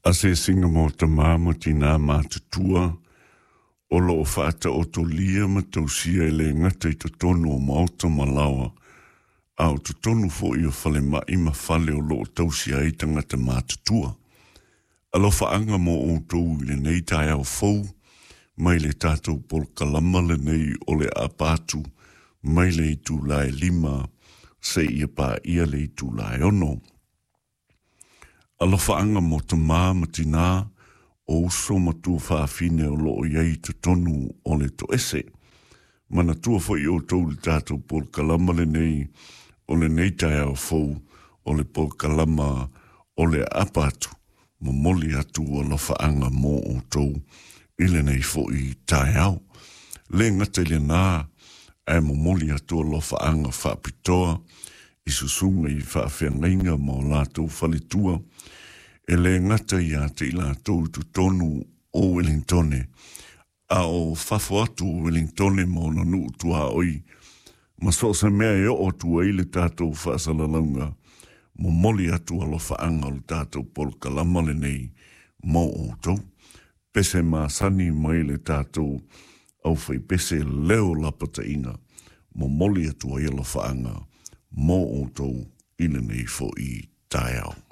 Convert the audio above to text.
Asiasiga mo tamā ma tinā matutua o loo faataotolia ma tausia e le gata i totonu o maota ma laoa, a o totonu fo'i o falema'i ma fale o loo tausia ai tagata matutua. Alofaaga mo outou i lenei taeao fou mai le tatou polokalama lenei o le aapa atu mai le itula e 5 seia paia le itula e 6. Alofaaga mo tamā ma tinā o uso ma tuafafine o loo i ai i totonu o le toese. Manatua foi outou le tatou polokalama lenei o lenei taeao fou o le polokalama o le aapa atu, momoli atu alofaaga mo outou i lenei fo'i taeao. Le gata i lenā, ae momoli atu alofaaga faapitoa i susuga i faafeagaiga ma o latou faletua, e le gata ia te i latou i totonu o Uelintone, a o fafo atu o Uelintone ma ona nuu tuaoi, ma so o se mea e oo atu ai le tatou faasalalauga, momoli atu alofaaga o le tatou polokalama lenei mo outou. Pese masani mai le tatou aufaipese leo lapataiga, momoli atu ai alofaaga mo outou i lenei fo'i taeao.